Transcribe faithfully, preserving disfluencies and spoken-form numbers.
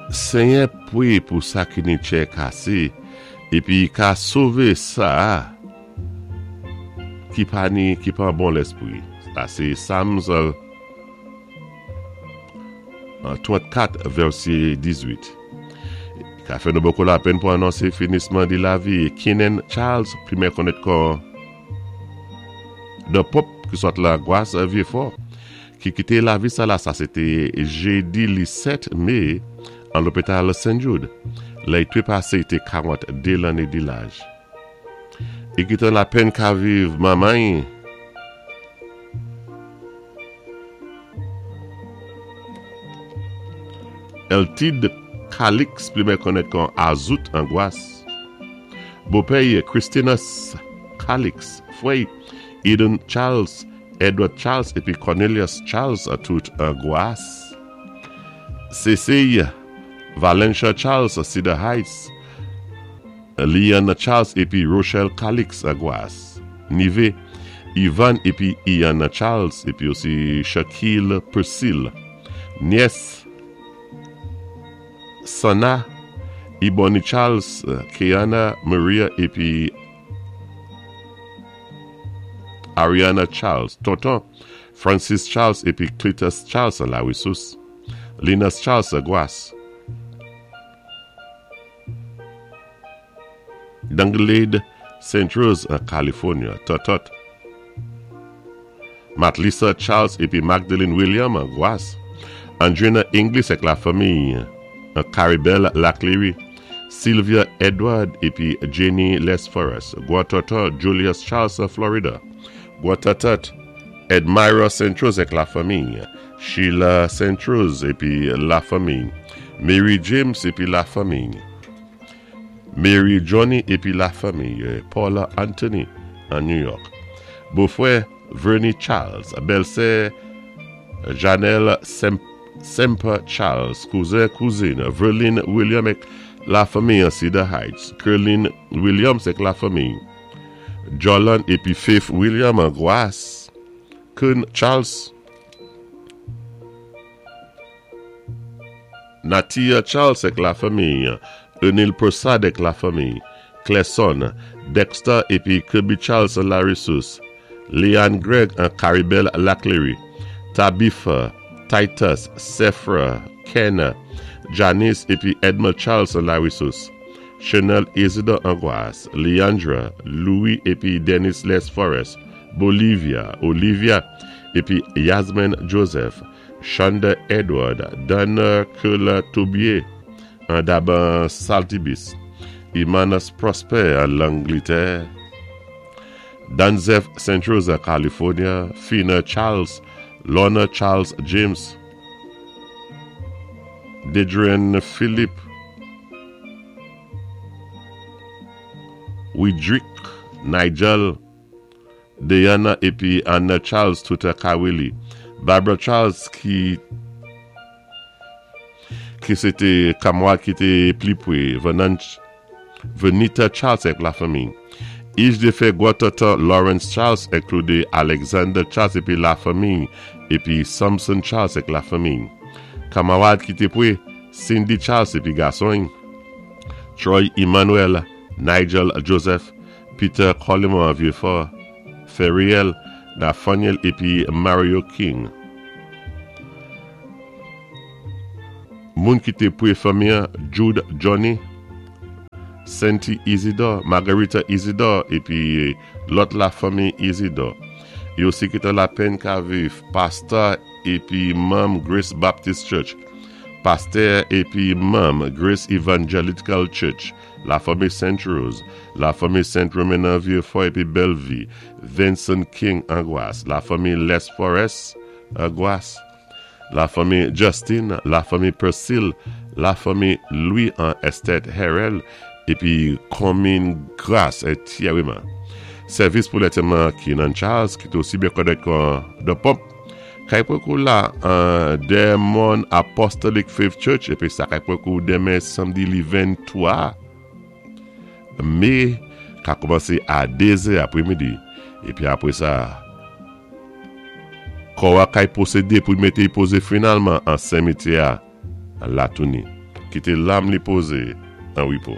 Senyè pwé pou sa ki ni tchè kasé, épi i ka sové sa ki pa ni ki pa bon léspwi. Sa sé Psalms trant-kat vèsé diz-uit. Ka fè nou bokou lapenn pou anonsé finisman di lavi Kinen Charles, pi mè konnèt kon The Pop ki sot la Gwas Vieux-Fort, ki kité lavi sa la, sa sé té jédi li sèt mé an lopital Saint Jude. Lè i twépasé té karant-dé lanné di laj. I kitan lapenn ka viv manman Eltide Calix, pli mè konnèt kon Azout an Gwas. Bopèy Christinus Calix, fwèy Eden Charles, Edward Charles épi Cornelius Charles a tout an Gwas. Cécile Valencia Charles Cedar Heights, Leon Charles épi Rochelle Calix an Gwas. Nivé Ivan épi Ian Charles épi osi Shaquille Persil. Niès Sana Ebony Charles, Keana Maria épi Ariana Charles. Tonton Francis Charles épi Cletus Charles La Ressource. Linus Charles Gwas. Danglade Saint Rose California. Totot Matlisa Charles épi Magdalene William Gwas. Andrina English ak la fanmi Caribel Laclery. Sylvia Edward épi Jenny Les Forest. Guatoto Julius Charles Florida. Guatatat Edmira Saint Rose ak la fanmi. Sheila Saint Rose épi la fanmi. Mary James épi la fanmi. Mary Johnny épi la fanmi. Paula Anthony an New York. Bofwè Vernie Charles. Bèlsè Janelle Sem Semper Charles. Kouzen kouzin Verlin William ek la fanmi an Cedar Heights. Kerlin Williams ek la fanmi. Jolan épi Faith William an Gwas. Kun Charles. Natia Charles ek la fanmi. Enil Prasad ek la fanmi. Clesson, Dexter épi Kirby Charles La Ressource. Leanne Greg an Caribel Laclery. Tabitha, Titus, Sephra, Kenna, Janice épi Edmund Charles La Ressource. Chanel Isidore Angoisse, Leandra, Louis épi Dennis Les Forest, Bolivia, Olivia épi Yasmin Joseph, Shonda Edward, Donna Kula Toubier, an Daban Saltibis, Imanas Prosper an Langleterre, Danzef Saint Rosa, California, Fina Charles, Lorna Charles James, Dedrian Philippe, Widrick Nigel, Diana épi Anna Charles tout à Kawili, Barbara Charles ki ki sé té kanmwad ki té pli pwé, Venita Charles ak la fanmi. Ij dé fè gwan-tonton Lawrence Charles enkludé Alexander Charles épi la fanmi épi Samson Charles ak la fanmi. Kanmawad ki té pwé Cindy Charles épi gason Troy Emmanuel, Nigel Joseph, Peter Coleman Vieux-Fort, Ferriel, Nathaniel épi Mario King. Moun ki té pwé fanmi Jude Johnny, Senti Isidore, Margarita Isidore épi lòt la fanmi Isidore. Yo osi kitan lapenn ka viv pastè épi manm Grace Baptist Church, pastè épi manm Grace Evangelical Church, la fanmi Saint Rose, la fanmi Saint Romain Vieux-Fort épi Bellevue, Vincent King Angoisse, la fanmi Les Forest Angoisse, la fanmi Justin, la fanmi Persil, la fanmi Louis en Estet Harrell, épi Commune Grâce et Thierryman. Sèvis pou lantèman Kenan Charles, ki té osi byen konnèt kon The Pump, kay pwé kou la an Demon Apostolic Faith Church, épi sa kay pwé kou denmen samdi li venntwa mé, ka kòmansé a dé zè apré midi. Épi apwé sa, kò a kay pwosédé pou mété pozé finalman an simityè a Latouni. Kité lam li pozé an wépo.